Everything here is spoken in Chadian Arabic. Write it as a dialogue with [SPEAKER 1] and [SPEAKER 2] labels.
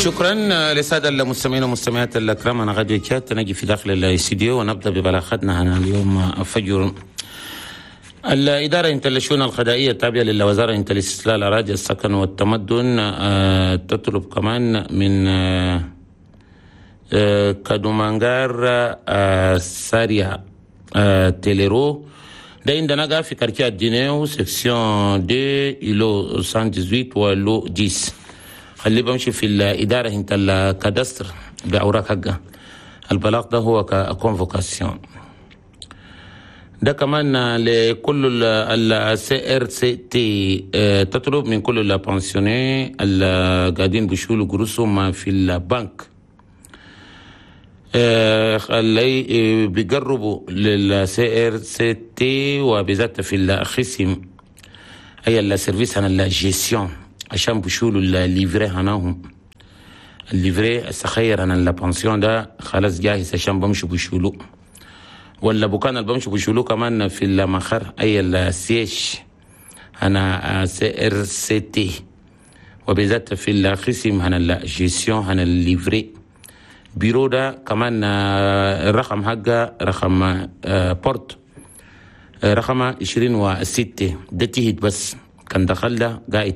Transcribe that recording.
[SPEAKER 1] شكرا للسادة المستمعين والمستمعات الكرام. أنا غادي كات نجي في داخل الاستديو ونبدأ ببلاغتنا هنا اليوم فجر. الإدارة انت الشؤون القضائية التابعة للوزارة انت الاستسلال الأراضي السكن والتمدن تطلب كمان من كادومانغار ساريا تيليرو ده عندنا في quartier دينيو، section 2، îlot 118 و lot 10. خلي بمشي في الإدارة انت ال cadastre بأوراق حقها. البلاغ ده هو convocation. ده كمان لكل ال CRCT، تطلب من كل ال pensionnés اللي قاعدين بيشيلوا قروشهم في البنك اللي بيقربوا لل CRCT وبالذات في القسم اي ال service هنا ال gestion، عشان بيشيلوا ال livret هناهم. ال livret الصغير هنا ال pension ده خلاص جاهز عشان بمشوا بيشيلوا، ولا بكان اللي بمشوا بيشيلوه كمان في المخر اي ال siège هنا CRCT وبالذات في القسم هنا ال gestion هنا ال livret. bureau ده كمان الرقم حقه رقم porte رقم 26 ده تهت، بس كان دخل ده قاعد.